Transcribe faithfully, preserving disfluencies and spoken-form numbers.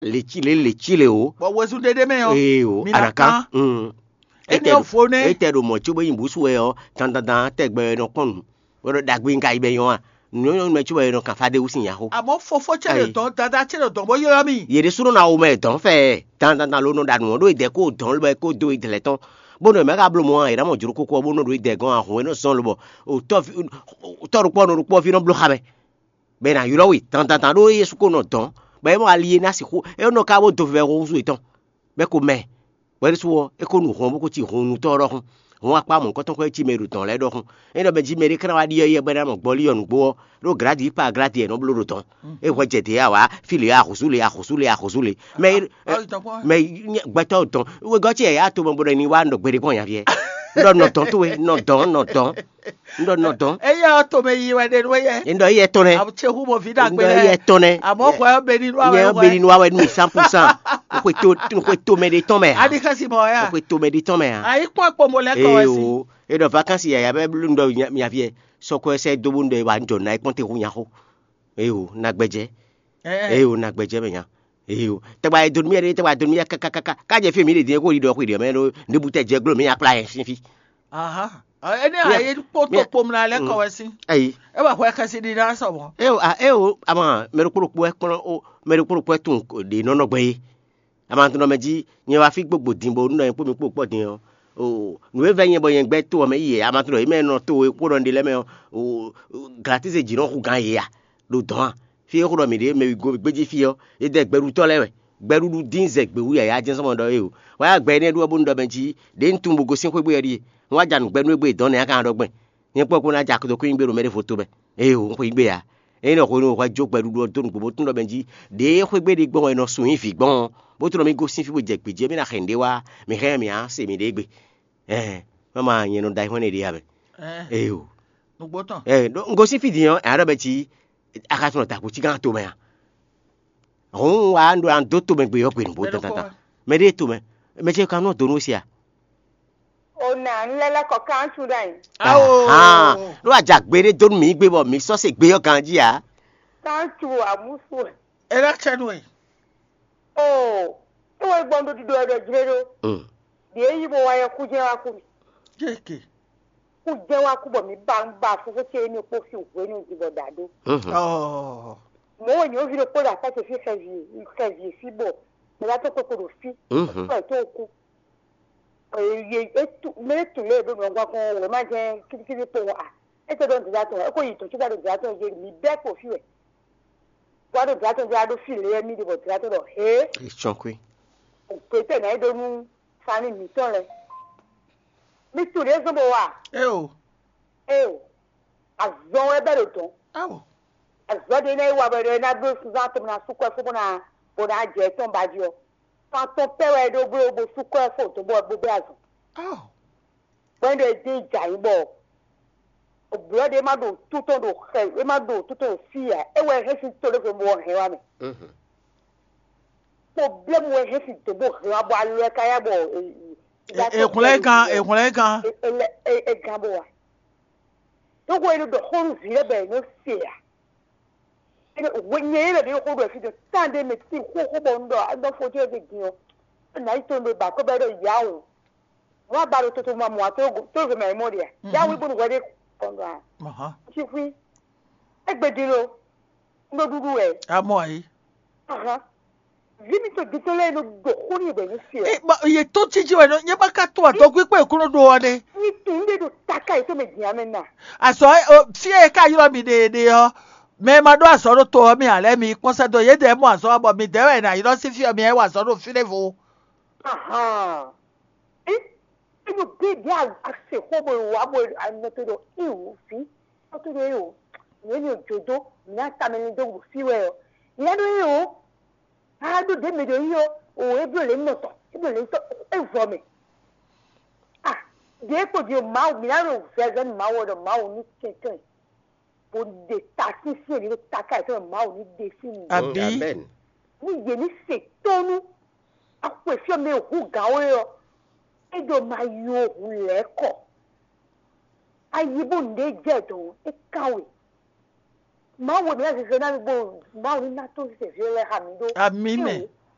Lěcí lě lěcí lě o. Bɔ wezun ɖé ɖé mɛ ɔ́, Ee o, mi ná anaka. Kán. Mm. Énɛ́ ɔ́ vo nɛ́. Étɛ ɖo mɔ̌ cóbó nyi bǔsu wɛ ɔ́, dandandan tɛgbɛ wɛ nɔ kpɔ́n nǔ. Bó ɖɔ ɖagbe ŋka yi bɛ nyɔ́ a? Nǔnyɔ́nyɔ́ mɛ cóbɔ è nɔ kan fá ɖé wú sin nyaxó. Àmọ́ fofó ce ɖo Ayi. Dɔn, dada ce ɖo dɔn bó ylɔ́ mì. Yě ɖésúnɔ ná wo mɛ dɔn fɛ dandandan ló nɔ ɖa nǔ ɔ́ ɖó yě dɛ kó dɔn ló bɛ kó dó yě dlɛ́ tɔn. Bó nɔ mɛ ka bló mɔ a, yě ná mɔ jló kókó ɔ́ bó nɔ ɖo yě dɛ gɔ́n ahun e nɔ zɔn lobɔ tɔ́ ɖokpó ɔ́ nɔ ɖokpó ɔ́ ví nɔ bló xa mɛ. Bɔ è nǎ ylɔ́ we dandandan ɖó Jezu ko nɔ dɔn, bɔ é mɔ ali e ná sixú é nɔ ka bó dó vɛvɛ húzú yětɔn. Bɔ é ko mɛ, bɔ é ɖésú ɔ́, é ko nu hɔn bó ko cí hunnutɔ́ ɔ́ ɖɔhun. Hɔn akpá mɔ̌hunkɔtɔn ko e cí mɛ e ɖo dɔ̌n lɛ́ɛ ɖɔhun. É ɖɔ mɛ jí mɛɖé ká ná wá ɖyɔ́ yɛ bɔ é ná mɔ gbɔlí ɔ́ nǔgbó ɔ́, ɖó gladi pa gladi e nɔ bló ɖo dɔ̌n. É hwɛ jɛ dě awǎ, fí lě axǔzú lě axǔzú lě axǔzú lě. Mɛ Ayi tɔn kpɔ́n. Mɛ gbɛtɔ́ dɔn wegɔ́ ce yǎyá to mɛ bó ɖɔ ní wá nɔ gbeɖé gbɔn nyaví ɛ. Ɖɔ nɔ dɔn towe, nɔ dɔn, nɔ dɔn. Un ɖɔ nɔ dɔn. Eya ɔ́ tomɛ yi wɛ ɖe nú éyɛ. Un ɖɔ éyɛ tɔn nɛ. Awu ce hu mo vi Un ɖagbe ɖɔ éyɛ lɛ. Tɔn nɛ. Amɔ xɔ ɛ beni nú Nyɛ awɛ ɔ́ beni nú awɛ nú mi cent pour cent. Xwe to xwe tomɛ ɖe tɔn mɛ ha. Adi xɛsi mɔ ya. Xwe tomɛ ɖe tɔn mɛ ha. Ayi kpɔn kpɔn mo lɛ kɔ Ee wɛ si. O. E ɖɔ vacances yaya bɛ blú un ɖɔ nya- mia viɛ. Sɔkɔ ɛsɛ do bo un ɖɔ e wa un jɔ na e kpɔn te hu nya xo. Ee o, na gbɛjɛ. Ee o, na gbɛjɛ mɛ nya. Ee o. Tɛgba e donu mi yɛ ɖe tɛgba donu mi yɛ kakakaka. Ka jɛ fi mi ɖe din ko yi ɖɔ xwe ɖe mɛ ɖo ne bu tɛ jɛ glo mi akpla yɛ sin fi. Aha. Ɔ, ene Yeah. a ye kpo to Yeah. kpom na lɛ kɔ wɛ si. Ayi. E wa hwɛ xɛsi di na sɔ mɔ. E o a e o ama mɛ ɖokpo ɖokpo ɛ kplɔn o mɛ ɖokpo ɖokpo ɛ tun ɖe nɔnɔ gbɛ ye. Ama tun nɔ mɛ ji nyɛ wa fi gbogbo din bo nɔ yɛ kpo mi kpo kpɔ din ɔ. O nu e vɛ nyɛ bɔ nyɛ gbɛ to ɔ mɛ yi yɛ ama tun nɔ yi mɛ nɔ to e kpo nɔ ɖe lɛ mɛ ɔ. O glatise ji nɔ hu gan ye ya ɖo dɔn a. Fí e xó ɖɔ mǐ ɖe mɛ wǐ gbéjí fí ɔ́, é dɛ gbɛɖutɔ́ lɛ́ɛ wɛ. Gbɛɖuɖu dín zɛ gběwú yǎyá jɛ́n sɔ́ mɔ ɖɔ é o. Wá ya gbɛ énɛ́ ɖu ɔ́ bónú ɖɔ mɛ jí ɖě un tunwun bó gosín xwé gbé ɔ́ ɖíe. Un wá ja nǔ gbɛ nú égbé dɔ̌n nɛ́ a ka ná ɖɔ gbɛn. Nyɛ kpɔ́ kpó ná ja dó kú nyí gbé ɖo mɛ ɖěvo tó mɛ. Ée o, un xweyí gbé ǎ. Ényí nɔ hwenu hwɛ jó gbɛɖuɖu ɔ́ dó nǔgbó bó tunwun ɖɔ mɛ jí ɖě xwé gbé ɖé gbɔn wɛ è nɔ sun nyí vǐ gbɔn ɔ́, bó tunwun ɖɔ mì gosín fí bó jɛ gbǐ jí, émí ná xɛ nǔɖé wá, mǐ hɛn mǐ á se mǐɖée gbe. Ɛɛ, mama nyɛ nɔ da ayihɔ́n ɖé ɖe ǎ mɛ. Ée o. Nǔgbó tɔn. Ɛ ɖó un gosín fí din ɔ́, ɛ ɖɔ bɛ cí a ka tunɔ dǎkú cí gán tomɛ a? Hǔn wǎ un ɖó an dó tomɛ gbe ɔ́ gbe nǔgbó Mɛ ɖokpó tatata. Wɛ. Mɛ ɖée tomɛ, mɛ ce kan nɔ dó nú we se a? O na un lɛ́ lɛ́ kɔ kántsu ɖ'ayǐ. Awo. Ahán. Ɖó a ja gbe ɖé dó nú mǐ gbe bɔ mǐ sɔ́ se gbe ɔ́ ganjí ǎ. Kántsu amúsu. E ɖo acɛ nú we. O, é wɛ gbɔn ɖo ɖiɖɔ ɛ ɖɔ jlé ɖó. Mm. Ɖě yí bó wá yɛ kú jɛ́n wá kú mì. Jéke. Kú jɛ́n wá kú bɔ mǐ ba un ba fúfú ce émí kpó sín hwenu din bɔ ɖa ɖó. Mhm. Ɔɔ. Mɔ̌ wɛ nyɔ̌ví ɖokpó ɖo akpá ce fí xɛvi xɛvi fí bɔ mɛ ɖá tó kpékpo ɖo fí. Mhm. Kpɛ́ tó kú. Mɛ e tu lě e ɖo nǔ ɔ́ gɔ́ kɔn wěma jɛ́n kíɖíkíɖí kpowun a? É tɛ ɖɔ dǐndá tɔn, é ko yi tɔ̌n cíbá ɖo dǐndá tɔn jí, mǐ bɛ́ kpo fí wɛ. Wá ɖo dǐndá tɔn jí, wá ɖo fí lě wɛ mì ɖe bɔ dǐndá tɔn ɖɔ hě. Ìtsɔ́nkwí. Ògbé tɛ nǎ yi ɖó nú fani mǐtɔn lɛ́ɛ. Mi tunwun ɖě zɔ́n bó wa? Éo. Éo. Azɔn wɛ bɛ́ ɖo dɔ̌n. Áwò. Azɔ̌ ɖé nɛ́ yi wa bɔ è nɔ ná bló sunzán tɔn bó ná sú kɔ́ fó bó ná bó ná jɛ tɔn ba jí ɔ́. Fan tɔn pɛ́ wɛ é ɖó bló bó sú kɔ́ fó dɔ̌n bó bó bɛ́ azɔn. Áwò. Bɔ é ɖo é dín jǎ nyí bɔ blɔ̌ ɖé ma ɖo tútɔn ɖo xɛ é ma ɖo tútɔn ɖo fí ǎ, é wɛ hɛn sín to ɖé bɔ hɛn wá mɛ. Mhm. Problème wɛ hɛn sín dǒ bó hɛn wá bɔ alɔ ɛ ka yá bɔ Èhwlɛ́n gán, èhwlɛ́n gán. È gán bó wa. Tógo e ɖo ɖɔ xó nú vǐ lɛ́ɛ bɔ è nɔ se ǎ. Nyɛ yě lɛ ɖě xó ɖɔ fí ɖɔ tán ɖé mɛ tí xóxó bɔ un ɖɔ un ɖɔ fó jɛ ɖe din ɔ́. Nǎ yi to nɖe ba kó bɛ ɖɔ yǎ o. Wọ́n á ba ɖo toto ma mɔ a tó ve mɛ mɔ ɖe a. Yá wí bónú hwɛ ɖé kɔn ɖɔ a. Ahán. Tsi xwí. Égbé din lo. Un ɖo ɖuɖu wɛ. Amɔ ayi. Ahán. Vǐ mitɔn gětɔn lɛ́ɛ nɔ ɖɔ xó n'i bɔ è nɔ se ɔ́. Ɛ, ma, yě tó títí wɛ nɔ, nyɛ ma ka to adɔgwé kpé kúnɔ ɖo ɔ ɖe. Ní tún un ɖe ɖo taka yě tó mɛ din amɛ na. Azɔ ɛ, o, fí ɛ ka ylɔ́ mi ɖe ɖe ɔ́, mɛ e ma ɖó azɔ̌ ɖo to ɔ́ mɛ ǎ lɛ́ɛ mi kpɔ́n sɛ́ dó yědɛɛ mɔ azɔ̌ wa bɔ midɛɛ wɛ è nǎ ylɔ́ sín fí ɔ́ mi ɛ wa azɔ̌ ɖo fí ɖěvo. Ahan. Ɛ, enu bí bí a se xó bo wa bo anɔ to ɖo iwu fí. Ɔ to ɖo e o. Yě mi ò jǒ dó, mi ná tamɛ ni dó wu fí wɛ ɔ. Yě ná ɖó e o. A ɖo ɖě mɛ ɖo yi ɔ́, o e bló lě nɔ tɔn, e bló lě tɔn, e vɔ mɛ. A ɖě kpo ɖi o Mawu, mǐ ná ɖo vɛvɛ nú Mawu ɔ́ ɖɔ Mawu ní kɛnklɛ́n, bó ɖe ta sínsɛ́n ɖě ɖo taká yětɔn mɛ Mawu ní ɖe sín mi. Àbí? Amen. Ní yě ní se tónú, axwe fí ɔ́ mɛ e hu gǎn we ɔ́, é ɖo ma yó hu lɛ̌ kɔ. Ayi bó nǔɖé jɛ dɔn é kán we. Mawu ná zeze ná mi bó Mawu ní ná tó zeze vǐ lɛ́ɛ xa mi ɖó. Amǐ mɛ.